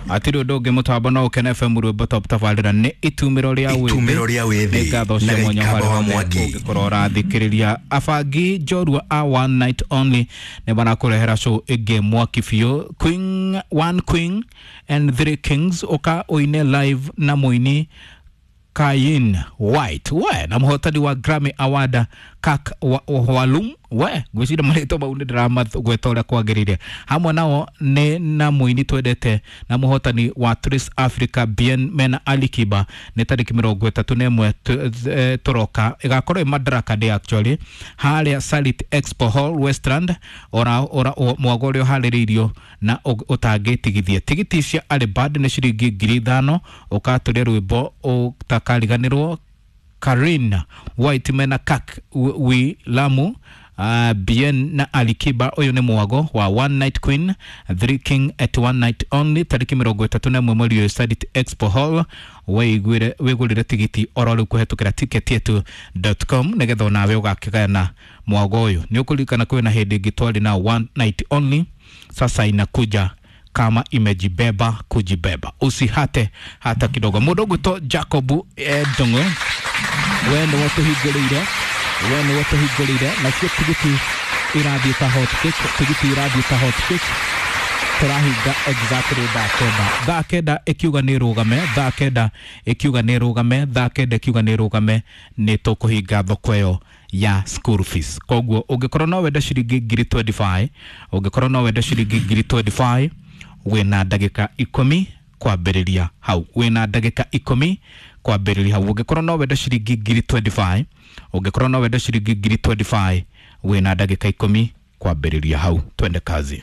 Atirĩ ũndũ ũngĩ mũtambo no ũkene FM rwĩmbo top tabarĩra nĩ itumĩro rĩa wĩthĩ. Itumĩro rĩa wĩthĩ. Nĩ ngatho cia Na mwanya Gĩikamba harĩa wa hothe Mwangi. ũngĩkorwo ũrathikĩrĩria. Abangi njorua a one night only nĩ marakũrehera show ĩngĩ mwaki biũ, queen one queen and three kings, ũka ũine live na mũini Kayin White we na mũhotani wa Grammy Award Kak Hwalum we ngwĩciria marĩtwa mau nĩ ndĩramagweta ũrĩa kwagĩrĩire. Hamwe nao nĩ na mũini twendete na mũhotani wa Trace Africa Bien mena Ali Kiba. Nĩ tarĩki 31 tũroka, ĩgakorwo ĩ Madaraka Day actually harĩa Salit Expo Hall Westland, ora ora mwago ũrĩa ũharĩrĩirio na ũtangĩtigithia. Tigiti cia Early Bird nĩ ciringi 5,000. Ũkatũria rwĩmbo ũtakariganĩrwo, Karin White mena Kak Wilamu, Bien na Alikiba. Ũyũ nĩ mwago wa one night queen three king at one night only, tarĩki 31 mweri ũyũ, Sarit Expo Hall. Wĩiguĩre wĩgũrĩre tigiti oro rĩu kũhetũkĩra ticketyetu.com nĩgetha onawe ũgakĩgayana mwago ũyũ. Nĩ ũkũririkana kwĩna hĩndĩ ĩngĩ twarĩ na one night only, sasa inakuja kama imejibeba kujibeba, usihate hata kidogo. Mũndũ ũgwĩtwo Jacob Ndung'u, we nĩwe tũhingũrĩire, we nĩwe tũhingũrĩire nacio tigiti irathiĩ ta hot cake, tigiti irathiĩ ta hot cake. Tũrahinga exactly thaa 9, thaa 9 ĩkiuga nĩ rũgame, thaa 9 ĩkiuga nĩ rũgame, thaa 9 ĩkiuga nĩ rũgame, nĩ tũkũhinga thoko ĩyo ya school fees. Koguo ũngĩkorwo no wende ciringi 25,000, ũngĩkorwo no wende ciringi 25,000, wĩna ndagĩka 10 kwambĩrĩria hau, wĩna ndagĩka 10 kwambĩrĩria hau. Ũngĩkorwo no wende ciringi 25,000, ũngĩkorwo no wende ciringi 25,000, wĩna ndagĩka 10 kwambĩrĩria hau. Twende kazi.